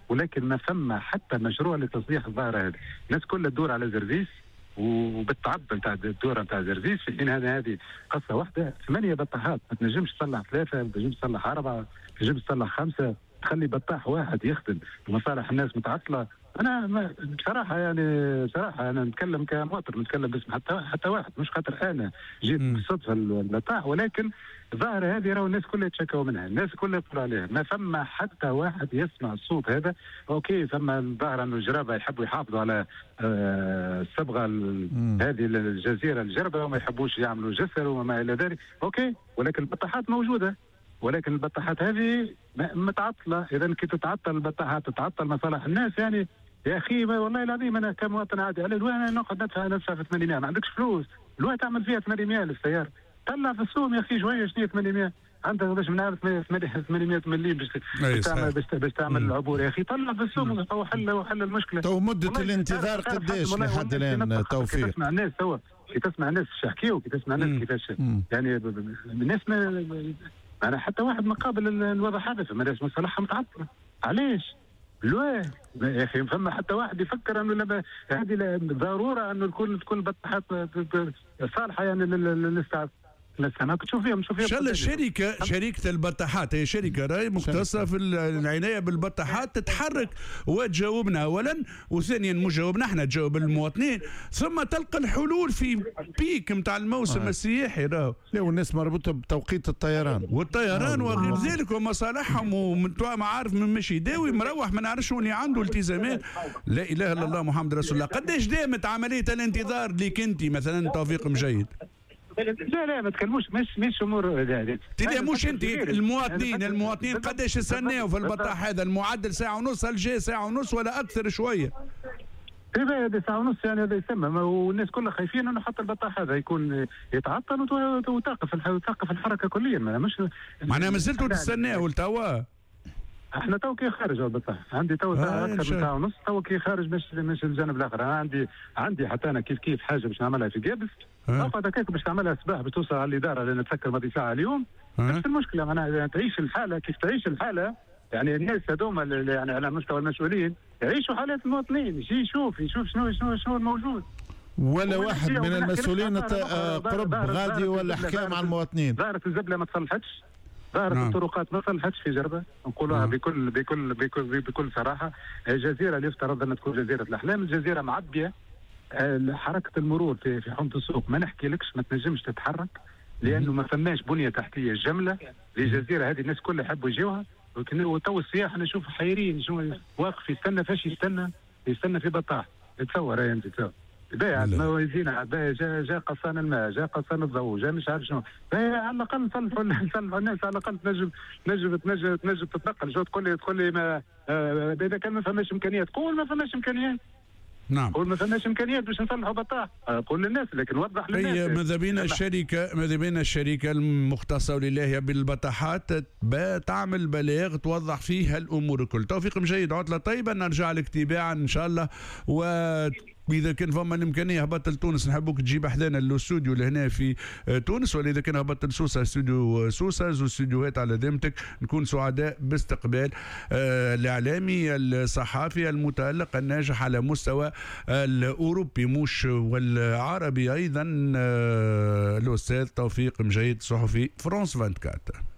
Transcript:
ولكن ما فما حتى مشروع لتصليح الظاهرة هذه. الناس كلها تدور على زرزيس وبالتعب نتاع الدورة نتاع زرزيس، في حين هذه قصة واحدة 8 بطاحات، ما تنجمش تصلح 3، ما تنجمش تصلح 4، ما تنجمش تصلح 5، تخلي بطاح واحد يخدم ومصالح الناس متعطلة. انا بصراحة يعني صراحة انا نتكلم كمواطن، نتكلم باسم حتى واحد، مش خاطر انا جيت بالصدفة البطاح، ولكن الظاهرة هذه راهو الناس كلها يتشكوا منها، الناس كلها تقول عليها، ما فما حتى واحد يسمع الصوت هذا. OK فما الظاهرة انه الجرابه يحبوا يحافظوا على الصبغه هذه الجزيرة الجربه وما يحبوش يعملوا جسر وما الى ذلك، OK، ولكن البطاحات موجودة، ولكن البطاحات هذه متعطلة. اذا كي تتعطل البطاحات تتعطل مصالح الناس. يعني يا اخي والله العظيم انا كمواطن عادي على الوان نقعد ندفع في 800، ما عندكش فلوس الوان تعمل فيها 800 للسيارة، طلع في السوم يا اخي شوية، شنو 800 عندك باش من عارف 800 مليم باش تعمل العبور يا اخي، طلع في السوم وحل المشكلة. تو مده الانتظار قداش لحد الان توفيق؟ كي تسمع الناس توا، كي تسمع الناس اش يحكيو، كي تسمع الناس كيفاش يعني الناس ما حتى واحد مقابل الوضع هذا، فما ناس مصالحها متعطلة. علاش؟ لواه يا اخي فما حتى واحد يفكر انه هذه ضرورة انه تكون البطاحات صالحه يعني للاستعمال. تشوف فيهم ان شاء الله شركة البطاحات هي شركة راي مختصة في العناية بالبطاحات تتحرك وتجاوبنا اولا، وثانيا مش جاوبنا احنا، تجاوب المواطنين، ثم تلقى الحلول في pic نتاع الموسم السياحي. راهو لا، والناس مربوطة بتوقيت الطيران والطيران وغير ذلك ومصالحهم، ومن عارف من مشي يداوي مروح ما نعرفش اللي عنده التزامات. لا اله الا الله محمد رسول الله. قداش دامت عملية الانتظار ليك انت مثلا توفيق مجيد؟ لا ما تكلموش، مش امور لا مش انت، المواطنين قداش استناو في البطاح هذا؟ المعدل ساعة ونص، هل جاي ساعة ونص ولا اكثر شوية؟ هذا ساعة ونص يعني هذا يسمى، والناس كلها خايفين انه حتى البطاح هذا يكون يتعطل وتوقف الحركة كليا. مش معناها مازلتوا تستناو لتوا؟ احنا تو كي خارج البطاح، عندي تو اكثر من ساعة ونص تو كي خارج مش الجانب الاخر. انا عندي حتى انا كيف حاجة باش نعملها في قابس، نقعد هكاك باش تعملها الصباح باش توصل على الادارة لان تسكر ماضي ساعة اليوم. نفس المشكلة معناها تعيش الحالة، كيف تعيش الحالة يعني الناس هذوما يعني على مستوى المسؤولين يعيشوا حالات المواطنين، يجي يشوف شنو شنو شنو الموجود. ولا واحد من المسؤولين قرب غادي ولا حكى مع المواطنين. ظاهره الزبله ما تصلحتش، ظاهرة الطرقات ما صلحتش في جربة، نقولوها بكل بكل بكل بكل صراحة. الجزيرة اللي يفترض أن تكون جزيرة الأحلام، الجزيرة معبية. حركة المرور في حومة السوق ما نحكي لكش، ما تنجمش تتحرك لأنه ما فماش بنية تحتية جملة للجزيرة هذه، الناس كلها يحبوا يجيوها. وتو السياح نشوف حيرين، شنو واقف يستنى، فاش يستنى في بطاح. تصور انت تصور باهي ما يزينا، باهي جا قصان الماء، جا قصان الضوء، جا مش عارف شنو، باهي على الاقل نصلحوا الناس، على الاقل تنجم تنجم تنجم تنجم تتنقل. شو تقول لي ما اذا كان ما فماش امكانيات، قول ما فماش امكانيات. نعم، قول ما فماش امكانيات باش نصلحوا بطاح، قول للناس، لكن وضح للناس. هي ماذا بينا الشركة، ماذا بينا الشركة المختصة ولله بالبطاحات تعمل بلاغ توضح فيه الامور الكل. توفيق مجيد، عطله طيبة، نرجع لك تباعا ان شاء الله. و اذا كان فما الامكانية هبطت لتونس نحبوك تجيب حذانا الاستوديو لهنا في تونس، ولا اذا كان هبطت لسوسه استوديو سوسة، زوج استوديوهات على ذمتك، نكون سعداء باستقبال الاعلامي الصحافي المتالق الناجح على مستوى الاوروبي مش والعربي ايضا، الاستاذ توفيق مجيد صحفي فرانس 24.